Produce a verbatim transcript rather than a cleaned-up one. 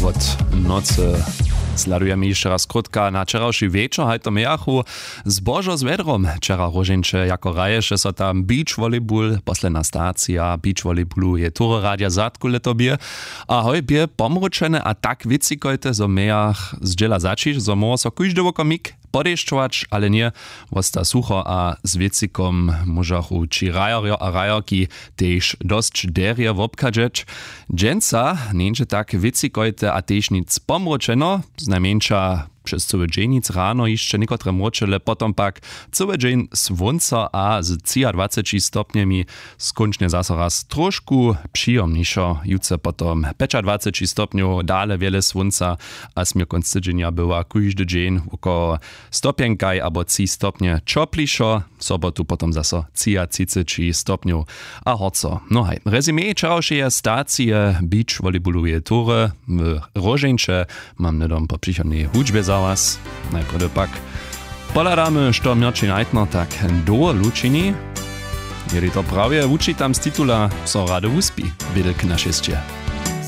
Pod nocy sladujemy hišće raz krótka na wčerawši wječor haj to mějachu. Zbožo z wjedrom wčera róžeńće jako hraješe so tam beach volleyball posledna stacija beach volleyballu je tury radja zadku leto bě. A hoj bě pomručene a tak wěcikojte zo mějach zdźěla zaćiš zo móhło so kóždy wokomik podešćować ale ně wosta sucho a z wěcikom móžachu ći hrajerjo a hrajerki tež dosć derje wobchadźeć. Dźensa njeńdźe tak wěcikojte a tež nic pomróčeno, znajmjeńša přez cyły dźeń nic rano hišće někotre mróčele potom pak cyły dźeń słónco a z třiadwaceći stopnjemi skónčnje zaso raz tróšku přijomnišo jutře potom pjećadwaceći stopnjow dale wjele słónca. A směr kónc tydźenja była kóždy dźeń wokoło stopjenkaj abo tři stopnje ćoplišo, sobotu potom zaso třiatřiceći stopnjow. A horco no haj rezumej wčerawšeje stacije beach volleyballoweje tury w róžeńće. Mam hnydom po přichodnej hudźbje za was. Najprjedy pak pohladamy što měrćin eitner tak dołho lučini. Jeli to prawje wučitam z titula so rady wuspi. Wědelk na šěsće.